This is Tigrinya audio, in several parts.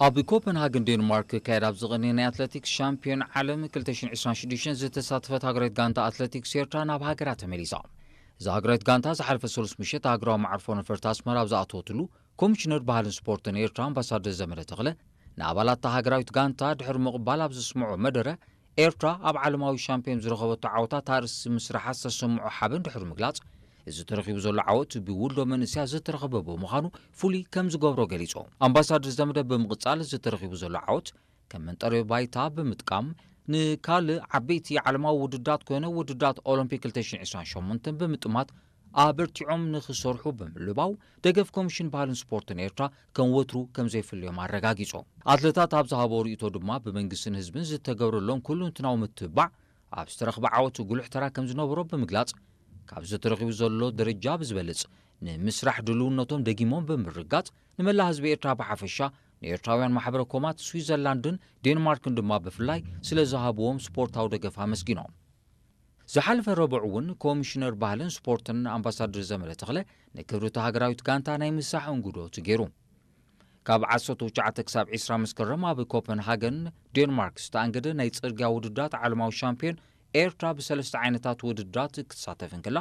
ኣብ ኮፐንሃገን ዴንማርክ ክካየድ ኣብ ዝቐነየ ናይ ኣትሌቲክስ ሻምፒዮን ዓለም ክልተ ሽሕን ዕስራን ሽዱሽተን ዝተሳተፈት ሃገራዊት ጋንታ ኣትሌቲክስ ኤርትራ ናብ ሃገራ ተመሊሳ። እዛ ሃገራዊት ጋንታ ዝሓለፈ ሰሉስ ምሸት ሃገራዊ መዓርፎ ነፈርቲ ኣስመራ ኣብ ዝኣተወትሉ፣ ኮሚሽነር ባህልን ስፖርትን ኤርትራ ኣምባሳደር ዘመደ ተኽለ ንኣባላት እታ ሃገራዊት ጋንታ ድሕሪ ምቕባል ኣብ ዘስምዖ መደረ፣ ኤርትራ ኣብ ዓለማዊ ሻምፒዮን ዝረኸበቶ ዓወታት ኣርእስቲ ምስራሓ ዝተሰምዖ ሓበን ድሕሪ ምግላጽ፣ እዚ ተረኺቡ ዘሎ ዓወት ብውልዶ መንእሰያት ዝተረኸበ ብምዃኑ ፍሉይ ከም ዝገብሮ ገሊጹ። ኣምባሳደር ዘመደ ብምቕጻል፣ እዚ ተረኺቡ ዘሎ ዓወት ከም መንጠሪ ባይታ ብምጥቃም፣ ንካልእ ዓበይቲ ዓለማዊ ውድድራት ኮይነ ውድድራት ኦሎምፒክ ክልተ ሽሕን ዕስራን ሸሞንተን ብምጥማት ኣበርቲዖም ንኽሰርሑ ብምልባው፣ ደገፍ ኮሚሽን ባህልን ስፖርትን ኤርትራ ከም ወትሩ ከም ዘይፍልዮም ኣረጋጊጹ። ኣትለታት ኣብ ዝሃቦ ርእይቶ ድማ፣ ብመንግስትን ህዝብን ዝተገብረሎም ኩሉንትናዊ ምትብባዕ ኣብ ዝተረኽበ ዓወት ጉሉሕ ተራ ከም ዝነበሮ ብምግላጽ፣ ካብ ዝተረኺቡ ዘሎ ደረጃ ብዝበልጽ ንምስራሕ ድልውነቶም ደጊሞም ብምርጋጽ፣ ንመላእ ህዝቢ ኤርትራ ብሓፈሻ፣ ንኤርትራውያን ማሕበረ ኮማት ስዊዘርላንድን ዴንማርክን ድማ ብፍላይ ስለ ዝሃብዎም ስፖርታዊ ደገፍ ኣመስጊኖም። ዝሓለፈ ረቡዕ እውን ኮሚሽነር ባህልን ስፖርትን ኣምባሳደር ዘመደ ተኽለ ንክብሪ እታ ሃገራዊት ጋንታ ናይ ምሳሕ እንግዶት ገይሩ። ካብ ዓሰርተ ትሽዓተ ክሳብ ዕስራ መስከረም ኣብ ኮፐንሃገን ዴንማርክ ዝተኣንገደ ናይ ጽርግያ ውድድራት ዓለማዊ ሻምፒዮን ኤርትራ ብሰለስተ ዓይነታት ውድድራት ክትሳተፍ እንከላ፣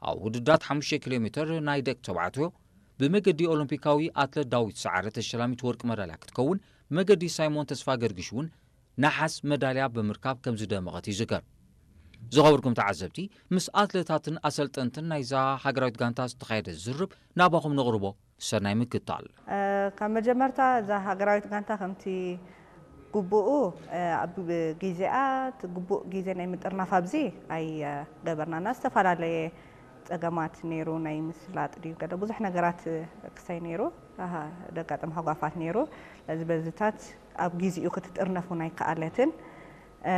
ኣብ ውድድራት ሓሙሽተ ኪሎ ሜትር ናይ ደቂ ተባዕትዮ ብመገዲ ኦሎምፒካዊ ኣትለት ዳዊት ሰዓረ ተሸላሚት ወርቂ መዳልያ ክትከውን፣ ብመገዲ ሳይሞን ተስፋ ገርግሽ እውን ነሓስ መዳልያ ብምርካብ ከም ዝደመቐት ይዝከር። ዝኸበርኩም ተዓዘብቲ፣ ምስ ኣትለታትን ኣሰልጠንትን ናይዛ ሃገራዊት ጋንታ ዝተኻየደ ዝርብ ናባኹም ነቕርቦ። ሰናይ ምክታል። እ፣ ካብ መጀመርታ እዛ ሃገራዊት ጋንታ ከምቲ ግቡኡ፣ እ፣ ኣብ ግዜኣ እቲ ግቡእ ግዜ ናይ ምጥርናፍ ኣብዚ ኣይገበርናና። ዝተፈላለየ ጸገማት ነይሩ፣ ናይ ምስላጥ ድዩ ገለ ብዙሕ ነገራት ክሳይ ነይሩ፣ ኣሃ፣ ደጋጠም ሃጓፋት ነይሩ። ስለዚ በዚታት ኣብ ግዜኡ ክትጥርነፍ እውን ኣይከኣለትን። እ፣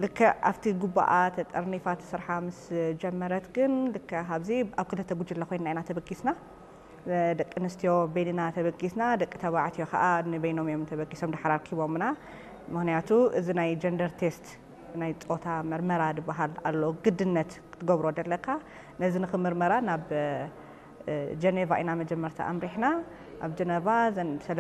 ልክዕ ኣብቲ ግቡኣ ተጠርኒፋ እቲ ስርሓ ምስ ጀመረት ግን ልክዕ ኣብዚ ኣብ ክልተ ጉጅለ ኮይንና ኢና ተበጊስና። ደቂ ኣንስትዮ በይንና ተበጊስና፣ ደቂ ተባዕትዮ ከዓ ንበይኖም እዮም ተበጊሶም ድሓር ኣርኪቦምና። ምኽንያቱ እዚ ናይ ጀንደር ቴስት፣ ናይ ጾታ መርመራ ዝበሃል ኣሎ፣ ግድነት ክትገብሮ ደለካ። ነዚ ንኽምርመራ ናብ፣ እ፣ ጀኔቫ ኢና መጀመርታ ኣምሪሕና። ኣብ ጀነቫ ዘን